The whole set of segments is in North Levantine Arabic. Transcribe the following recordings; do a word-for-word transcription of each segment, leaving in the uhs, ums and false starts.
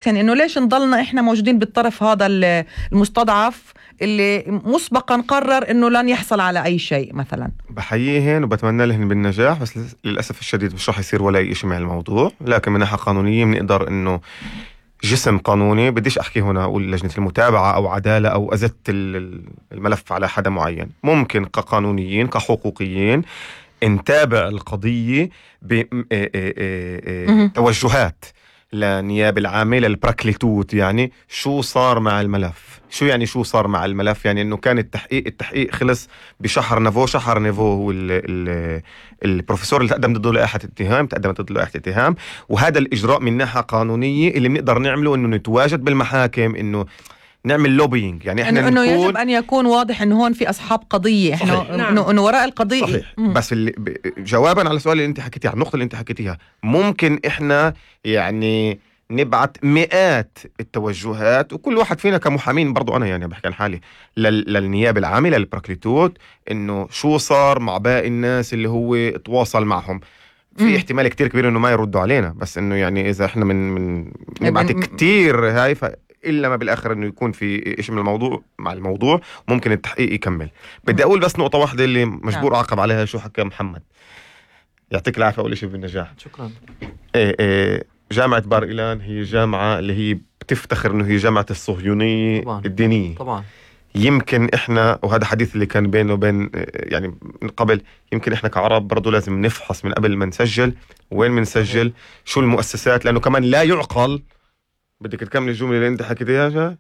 يعني إنه ليش نضلنا إحنا موجودين بالطرف هذا المستضعف اللي مسبقا قرر إنه لن يحصل على أي شيء مثلا. بحييهن وبتمنى لهن بالنجاح، بس للأسف الشديد مش رح يصير ولا أي شيء مع الموضوع. لكن من ناحية قانونية بنقدر إنه جسم قانوني، بديش أحكي هنا أقول لجنة المتابعة أو عدالة أو أزت الملف على حدا معين، ممكن كقانونيين كحقوقيين نتابع القضية بتوجهات لنيابة العامة للبراكليتوت. يعني شو صار مع الملف؟ شو يعني شو صار مع الملف؟ يعني انه كان التحقيق التحقيق خلص بشهر نيفو. شهر نيفو هو ال ال البروفيسور اللي تقدم ضده لائحة اتهام، تقدمت ضده لائحة اتهام. وهذا الإجراء من ناحية قانونية اللي بنقدر نعمله إنه نتواجد بالمحاكم، إنه نعمل لوبينج. يعني احنا انه يجب ان يكون واضح انه هون في اصحاب قضيه، احنا انه انه وراء القضيه. صحيح. بس اللي جوابا على السؤال اللي انت حكيتيه، على النقطه اللي انت حكيتيها، ممكن احنا يعني نبعت مئات التوجهات، وكل واحد فينا كمحامين، برضو انا يعني بحكي عن حالي، للنيابه العامه للبراكليتوت، انه شو صار مع باقي الناس اللي هو تواصل معهم. في مم. احتمال كتير كبير انه ما يردوا علينا، بس انه يعني اذا احنا من من نبعت كتير هاي ف إلا ما بالآخر إنه يكون في إيش من الموضوع مع الموضوع، ممكن التحقيق يكمل. بدي أقول بس نقطة واحدة اللي مجبور أعقب عليها، شو حكى محمد، يعطيك العافية أول شيء بالنجاح. شكرا. إيه إيه جامعة بار إيلان هي جامعة اللي هي بتفتخر إنه هي جامعة الصهيونية طبعاً. الدينية طبعا. يمكن إحنا، وهذا حديث اللي كان بينه وبين يعني من قبل، يمكن إحنا كعرب برضو لازم نفحص من قبل ما نسجل وين منسجل، شو المؤسسات، لأنه كمان لا يعقل. بدك تكمل الجملة اللي انت حكيتيها؟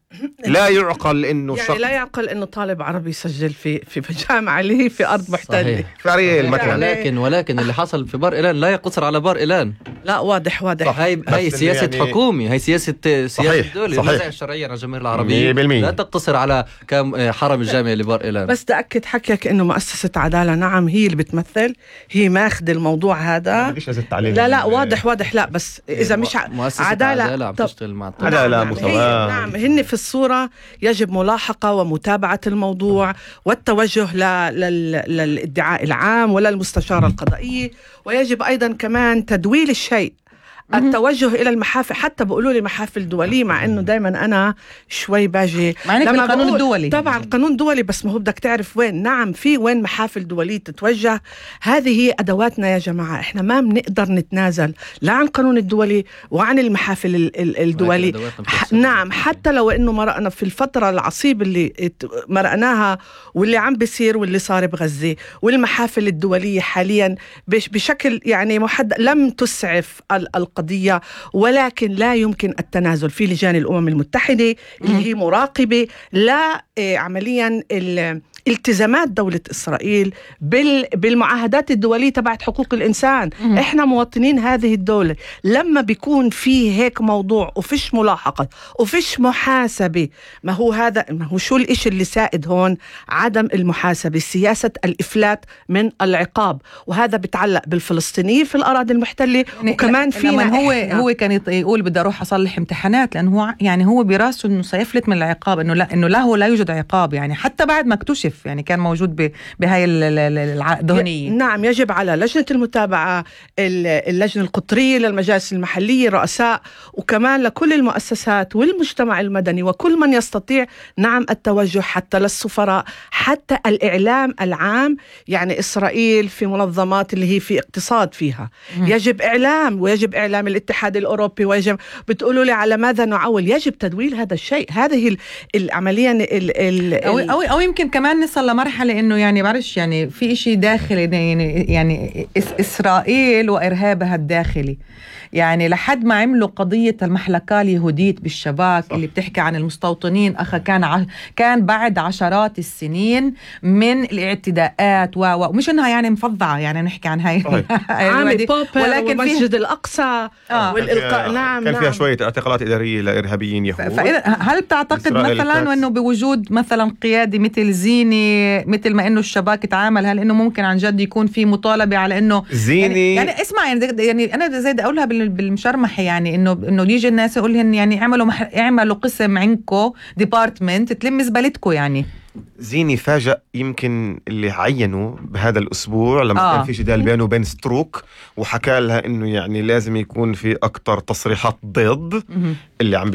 لا يعقل انه يعني لا يعقل انه طالب عربي يسجل في في جامعة اللي هي في ارض محتلة في اريال مثلا. ولكن ولكن اللي حصل في بار إيلان لا يقتصر على بار إيلان. لا واضح واضح. هاي هاي سياسة يعني حكومي، هي سياسة سياسة دولة، الموزع الشرعية على الجماهير العربية لا تقتصر على كم حرم الجامعة لبار إيلان. بس بدي أكد حكيك انه مؤسسة عدالة نعم هي اللي بتمثل، هي ماخذ الموضوع هذا. لا لا واضح واضح. لا بس اذا مش عدالة عم تشتغل مع عدالة مساواة. نعم هن في الصورة، يجب ملاحقة ومتابعة الموضوع والتوجه للادعاء العام ولا المستشارة القضائية، ويجب أيضا كمان تدويل الشيء، التوجه إلى المحافل. حتى بقولوا لي محافل دولية، مع إنه دايما أنا شوي باجي لما القانون الدولي. طبعا قانون دولي، بس ما هو بدك تعرف وين. نعم في وين محافل دولية تتوجه. هذه هي أدواتنا يا جماعة، إحنا ما بنقدر نتنازل لا عن القانون الدولي وعن المحافل الدولي. نعم حتى لو إنه مرقنا في الفترة العصيبة اللي مرقناها واللي عم بيصير واللي صار بغزة، والمحافل الدولية حاليا بشكل يعني محدد لم تسعف القضية، ولكن لا يمكن التنازل. في لجان الأمم المتحدة اللي هي مراقبة لا عمليا التزامات دولة إسرائيل بالمعاهدات الدولية تبعت حقوق الإنسان. مم. إحنا مواطنين هذه الدولة. لما بيكون في هيك موضوع وفيش ملاحقة وفيش محاسبة، ما هو هذا، ما هو شو الإشي اللي سائد هون؟ عدم المحاسبة، سياسة الإفلات من العقاب، وهذا بتعلق بالفلسطينيين في الأراضي المحتلة. يعني وكمان فينا هو هو كان يقول بدي أروح أصلح امتحانات، لأنه هو يعني هو براسه إنه سيفلت من العقاب، إنه لا إنه له لا يوجد عقاب، يعني حتى بعد ما اكتشف يعني كان موجود بهاي الدهنية. نعم يجب على لجنة المتابعة، اللجنة القطرية للمجالس المحلية، رؤساء، وكمان لكل المؤسسات والمجتمع المدني وكل من يستطيع نعم التوجه، حتى للسفراء، حتى الإعلام العام. يعني إسرائيل في منظمات اللي هي في اقتصاد فيها م. يجب إعلام، ويجب إعلام الاتحاد الأوروبي، ويجب بتقولوا لي على ماذا نعول، يجب تدويل هذا الشيء. هذه العملية ال ال أو, أو, أو يمكن كمان نصل لمرحلة إنه يعني بعرفش يعني في إشي داخلي، يعني يعني إسرائيل وإرهابها الداخلي، يعني لحد ما عملوا قضية المحلكة اليهودية بالشباك صح. اللي بتحكي عن المستوطنين أخا كان ع... كان بعد عشرات السنين من الاعتداءات و... ومش إنها يعني مفضعة، يعني نحكي عن هاي عامل ولكن مسجد الأقصى آه. والإلقاء. نعم كان نعم. فيها شوية اعتقالات إدارية لإرهابيين يهود. ف... هل بتعتقد مثلا إنه بوجود مثلا قيادة مثل زيني، مثل ما إنه الشباك تعامل، هل إنه ممكن عن جد يكون في مطالبة على إنه زيني يعني, يعني اسمع يعني, يعني أنا زي أقولها بال بالمشرمحة يعني إنه إنه يجي الناس يقولهن يعني اعملوا مح... اعملوا قسم عندكم ديبارتمنت تلم زبالتكم يعني. زيني فاجأ يمكن اللي عينوا بهذا الأسبوع لما آه. كان في جدال بينه وبين ستروك وحكى لها إنه يعني لازم يكون في أكتر تصريحات ضد اللي عم